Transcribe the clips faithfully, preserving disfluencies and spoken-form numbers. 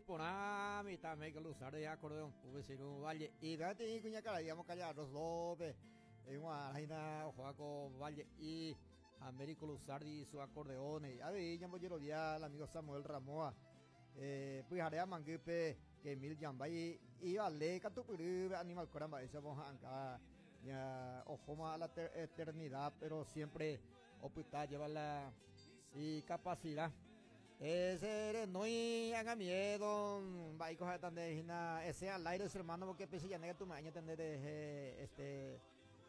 Por mitad me que usar de acordeón, vecino Valle y date cuña cara, digamos calle Arroz López, en Guaraina, Joaco Valle y Américo Luzardi y su acordeón. A ver, ya voy al amigo Samuel Ramoa, eh, pues haré a Mangupe, que mil Yambay y vale, Catupirú, Animal Coramba, esa acá, ya, ojo a la eternidad, pero siempre oputa lleva la y capacidad. Ese no haga miedo, va a ese al aire su hermano porque pese ya nega tu maña tener este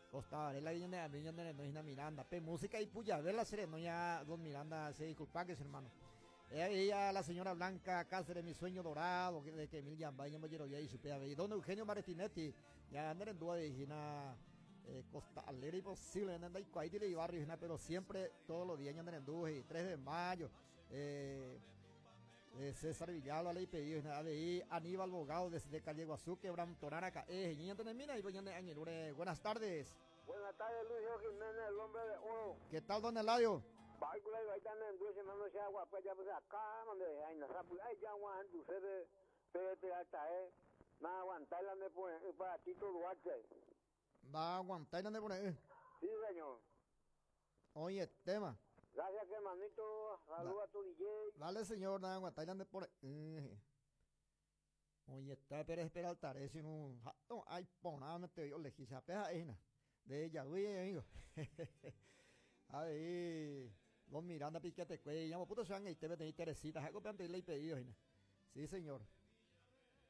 Costa Varela de de no Miranda, pe música y puya la sereno ya don Miranda se disculpa que es hermano. Ella la señora Blanca Cáceres, mi sueño dorado, de que mil ya vaya y su y don Eugenio Martinetti, ya andar en duda de Gina eh, Costa Alegre imposible, anda y y barrio, pero siempre todos los días andan en duda y tres de mayo. Eh, eh, César Villalba le pedido ahí Aníbal Bogado desde Calleguazú, Quebrantoraraca, eh, buenas tardes. Buenas tardes, Luis Jiménez, el hombre de oro. ¿Qué tal, don Eladio? Va a aguantar la de Sí, señor. Oye, tema. Gracias, hermanito. Saludos a tu D J. Dale, señor. Nada, aguantar por. Eh. Oye, está Pérez Peralta. Es un. No, ay, poname, te digo, lejisa. Peja, ejina. De ella, güey, amigo. A ver, don Miranda, piquete, cuello. Llamo, puto, se van a ir, te Teresita. Algo antes le he pedido, ejina. Sí, señor.